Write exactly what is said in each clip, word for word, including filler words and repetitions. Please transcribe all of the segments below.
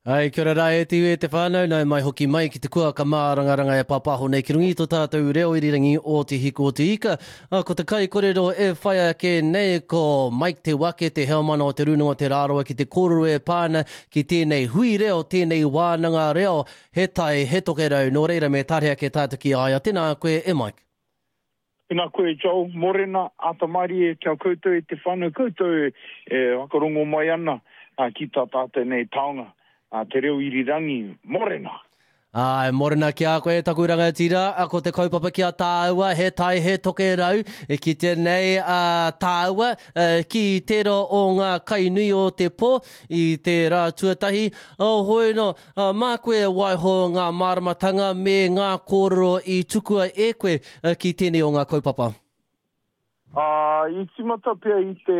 Ai, kia ora rā e te iwi e te whānau, nau mai hoki mai ki te kuaka mārangaranga e pāpāho nei ki runga i tō tātou reo irirangi o Te Hiku o Te Ika. A, ko te kaikorero e whai ake nei ko Mike Te Wake, te heamana o Te Rūnanga o Te Rarawa ki te kōrero e pā ana ki tēnei hui reo, tēnei wānanga reo, he tai, he tokerau, nō reira me tare ake tātou ki a ia. Tēnā koe e Mike. Tēnā koe Joel, morena, āta mārie kia koutou e te whānau, koutou e whakarongo mai ana ki tā tātou nei taonga. A te reo irirangi, morena! Āe, morena ki a koe taku rangatira, ko te kaupapa ki a tāua, he tai, he tokerau, e kitea nei a tāua ki tērā o ngā kai nui o te pō i te rā tuatahi. Hoi nō, mā koe e waiho ngā māramatanga me ngā kōrero i tukua e koe ki tēnei o ngā kaupapa. Ā, i tīmata pea i te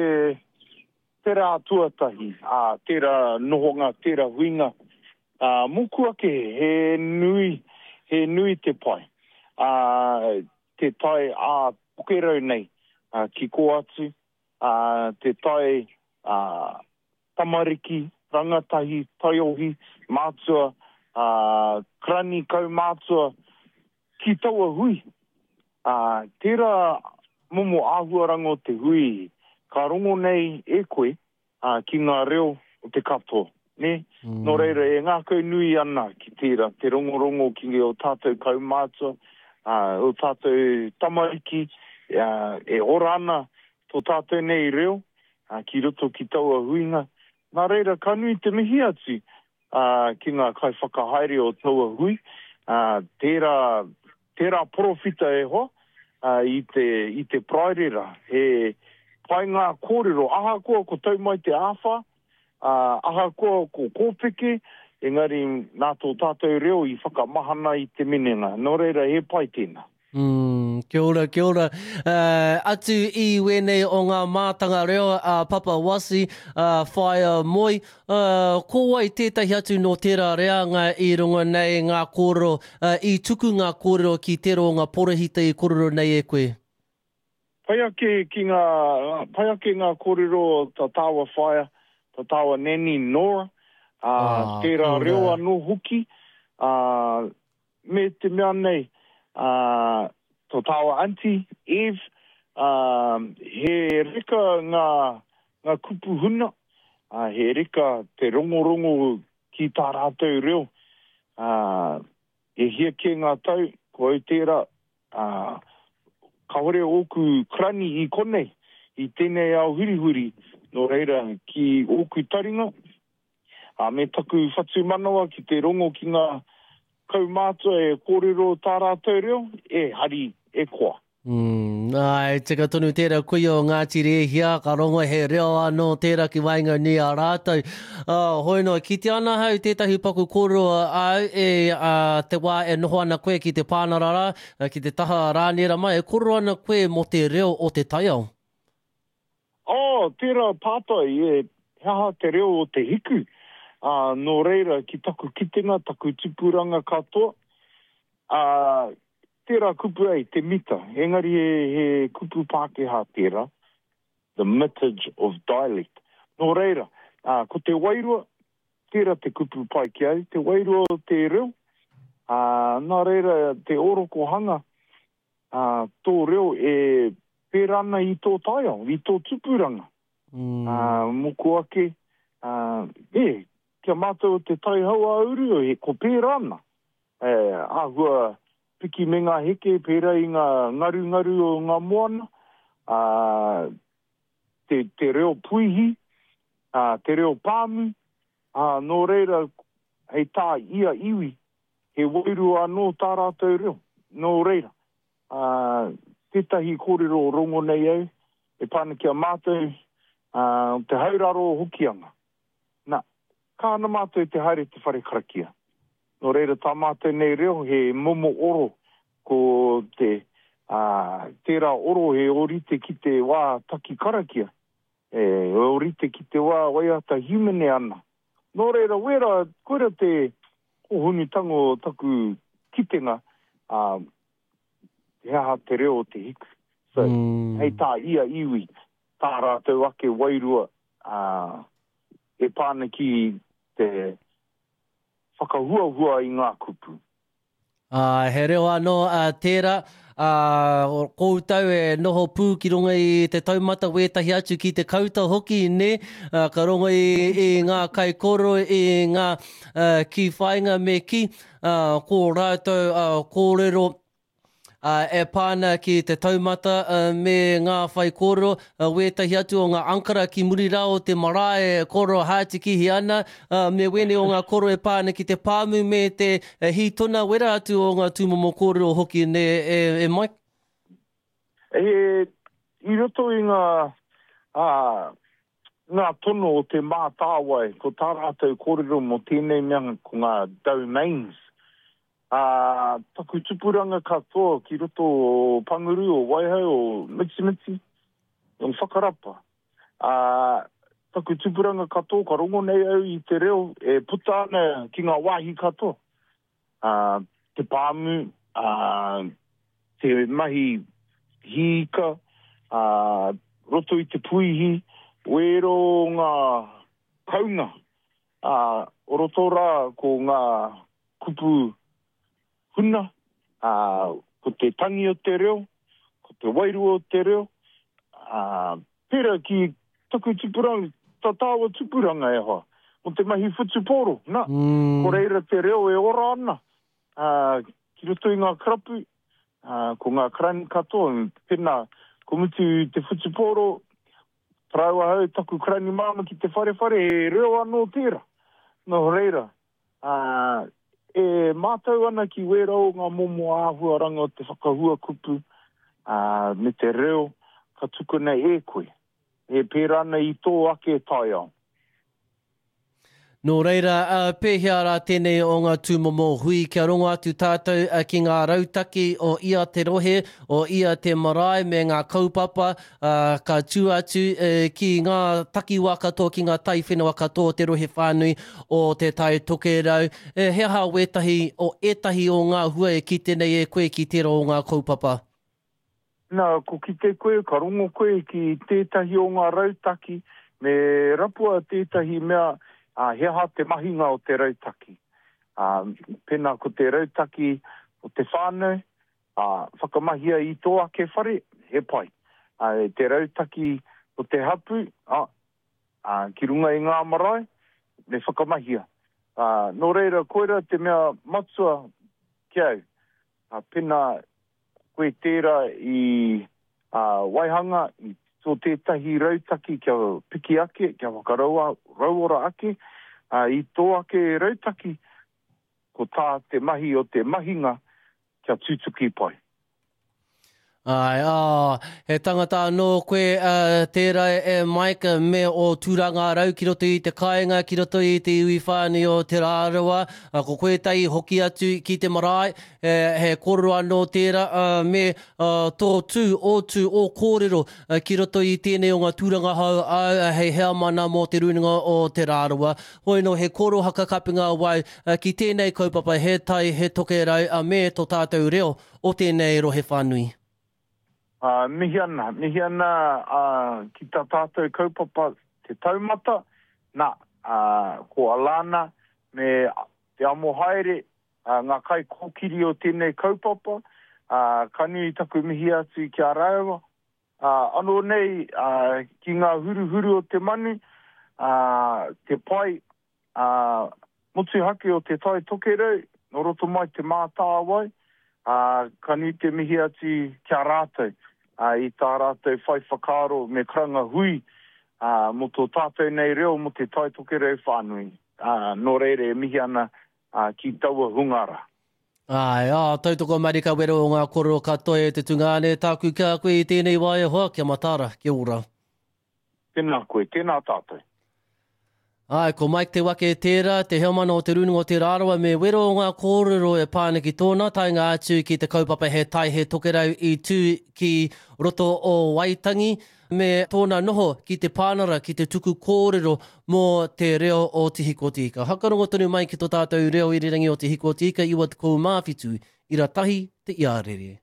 te rā tuatahi, ā, tērā nohonga, tērā huinga, ā, mōku ake he nui, he nui te pai, ā, te tae ā Tokerau nei, ā, ki kō atu, ā, te tae, ā, tamariki, rangatahi, taiohi, mātua, ā, karani kaumātua ki taua hui. Ā, tērā momo āhuaranga o te hui ka rongo nei e koe, ā, ki ngā reo o te katoa, nē? Mm. Nō reira, e ngākau nui ana ki tērā, te rongorongo ki ō tātou kaumātua, ā, ō tātou tamariki, ā, e ora ana tō tātou nei reo, ā, ki roto ki taua huinga. Nā reira, ka nui te mihi atu, ā, ki ngā kaiwhakahaere o taua hui, ā, tērā, tērā porowhita e hoa, ā, i te, i te Paraire rā. He pai ngā kōrero, ahakoa ko tau mai te āwhā, ā, ahakoa ko kōpeke, engari nā tō tātou reo i whakamahana i te minenga. Nō reira, he pai tēnā. Mm, kia ora, kia ora. Uh, atu i wēnei o ngā mātanga reo a Papa Wasi, a Whaea Moi, uh, ko wai tētahi atu nō tērā reanga i runga nei ngā kōrero, uh, i tuku ngā kōrero ki tērā o ngā porihita i kōrero nei e koe? Pai ake ki ngā, pai ake ngā kōrero tā tāua whaea, tā tāua nanny Nora, uh, ah, tērā reo anō hoki, uh, me te mea nei, ā, tō tāua aunty, Eve, ā, he reka ngā, ngā kupu huna, ā, he reka te rongorongo ki tā rātou reo, ā, e hia kē ngā tau, ko au tērā, ā, kāore ōku karani i konei, i tēnei ao hurihuri, nō reira, ki ōku taringa, ā, me taku whatumanawa ki te rongo ki ngā kaumātua e kōrero tā rātou reo, e hari, e koa. Mm, āe, tika tonu tērā kuia o Ngāti Rēhia, ka rongo he reo anō tērā ki waenganui a rātou. Uh, hoi noa, kite ana hau tētahi paku kōrero āu e uh, te wā e noho ana koe ki te pānara rā, ki te taha Rāniera mai, e kōrero ana koe mō te reo o te taiao. Oh, tērā pātai, e, he aha te reo o te hiku? Ā, nō reira, ki taku kitenga, taku tupuranga katoa, ā, tērā kupu ei, te mita, engari he, he kupu Pākehā tērā, the mitage of dialect. Nō reira, ā, ko te wairua, tērā te kupu pai ki au, te wairua o te reo, ā, nā reira, te orokohanga, ā, tō reo e pērā ana i tō taiao, i tō tupuranga. Mm. Ā, mōku ake, ā, e, kia mātou o te Tai Hauāuru, he, ko pērā ana. E, āhua piki me ngā heke, pērā i ngā ngarungaru o ngā moana, ā, te, te reo puihi, ā, te reo pāmu, ā, nō reira, hei tā ia iwi, he wairua anō tā rātou reo. Nō reira, ā, tētahi kōrero rongo nei au, e pā ana ki a mātou, ā, te hauraro o Hokianga. Nā, ka ana mātou te haere te whare karakia. Nō reira, tā mātou nei reo he momo oro, ko te, ā, tērā oro he ōrite ki te wā taki karakia, e, ōrite ki te wā waiata hīmene ana. Nō reira, wera, koira te hōhonutanga o taku kitenga, ā, he aha te reo o te hiku. So, mm. hei tā ia iwi, tā rātou ake wairua, ā, e pā ana ki te, whakahuahua i ngā kupu. Ā, he reo anō tērā, ā, koutou e noho pū ki runga i te taumata wētahi atu ki te kauta hoki, nē, ā, ka rongo i, i ngā kaikōrero, i ngā kī whāinga me kī, ā, ko rātou kōrero, ā, e pā ana ki te taumata me ngā whaikōrero, wētahi atu o ngā ankara ki muri rā o te marae e kōrero hātikihi ana, me wēnei o ngā kōrero e pā ana ki te pāmu me te hītona, wera atu o ngā tūmomo kōrero hoki, nē, e, e Mike? E, i roto i ngā, ā, ngā tono o Te Mātāwai, ko tā rātou kōrero mō tēnei mea ko ngā domains, Ā, taku tupuranga katoa ki roto o Panguru, o Waihau, o Mitimiti, o Whakarapa. Ā, taku tupuranga katoa ka rongo nei au i te reo e puta ana ki ngā wāhi katoa. Ā, te pāmu, ā, te mahi hīika, ā, roto i te puihi, wēro ngā kaunga, ā, o roto rā ko ngā kupu huna, ā, ko te tangi o te reo, ko te wairua o te reo, ā, pērā ki taku tupuranga, tā tāua tupuranga e hoa, mō te mahi whutupōro, nā, mm. ko reira te reo e ora ana, ā, ki roto i ngā karapu, ā, ko ngā karani katoa, pēnā, ko mutu te whutupōro, tarau ahau taku karani māma ki te wharewhare, he reo anō tērā. Nō reira, ā, e mātau ana ki wērā o ngā momo āhuaranga o te whakahua kupu, ā, me te reo ka tukuna e koe, e pērā ana i tō ake taiao. Nō reira, pēhea rā tēnei o ngā tūmomo hui kia rongo atu tātou ki ngā rautaki o ia te rohe, o ia te marae me ngā kaupapa ka tū atu ki ngā takiwā katoa, ki ngā taiwhenua katoa o te rohe whānui o Te Tai Tokerau. He aha wētahi o ētahi o ngā hua e kite nei e koe ki tērā o ngā kaupapa? Nā, ko kite koe, ka rongo koe ki tētahi o ngā rautaki, me rapua tētahi mea, ā, he aha te mahinga o te rautaki. Ā, pēnā ko te rautaki o te whānau, ā, whakamahia i tō ake whare, he pai. Ā, te rautaki o te hapū, ā, ā, ki runga i ngā marae, me whakamahia. Ā, nō reira, koirā te mea matua ki au, ā, pēnā koe tērā i waihanga i tō tētahi rautaki kia piki ake, kia whakarauora ake i tō ake rautaki, ko tā te mahi o te mahinga kia tutuki pai. Āe, ā, he tangata anō koe tērā e Mike me ō tūranga rau ki roto i te kāinga, ki roto i te iwi whānui o Te Rarawa, ko koe tahi hoki atu ki te marae, he kōrero anō tērā me tō tū, ō tū, ō kōrero ki roto i tēnei o ngā tūranga hou āu hei heamana mō Te Rūnanga o Te Rarawa. Hoi nō, he kōrero hakakapinga wau ki tēnei kaupapa, he tai, he tokerau me tō tātou reo o tēnei rohe whānui. Ā, mihi ana, mihi ana ki tā tātou kaupapa Te Taumata, nā, ā, ko Alana me Te Amohaere ngā kaikōkiri o tēnei kaupapa, ā, ka nui taku mihi atu ki a rāua. Ā, anō nei, ā, ki ngā huruhuru o te manu, ā, te pae, ā, motuhake o Te Tai Tokerau, nō roto mai Te Mātāwai, ā, ka nui te mihi atu ki a rātou, ā, i tā rātou whai whakaaro me karanga hui, ā, mō tō tātou nei reo mō Te Tai Tokerau whānui. Ā, nō reira e mihi ana, ā, ki taua hunga rā. Āe, ā, tautoko marika wero o ngā kōrero katoa e te tungāne, tāku ki a koe i tēnei wā e hoa, kia mataara, kia ora. Tēnā koe, tēnā tātou. Āe, ko Mike Te Wake tērā, te heamana o Te Rūnanga o Te Rarawa me wero o ngā kōrero e pā ana ki tōna taenga atu ki te kaupapa He Tai He Tokerau i tū ki roto o Waitangi me tōna noho ki te pānara ki te tuku kōrero mō te reo o Te Hiko o Te Ika. Hakarongo tonu mai ki tō tātou reo irirangi o Te Hiko o Te Ika iwa tekau mā whitu ira tahi te iarere.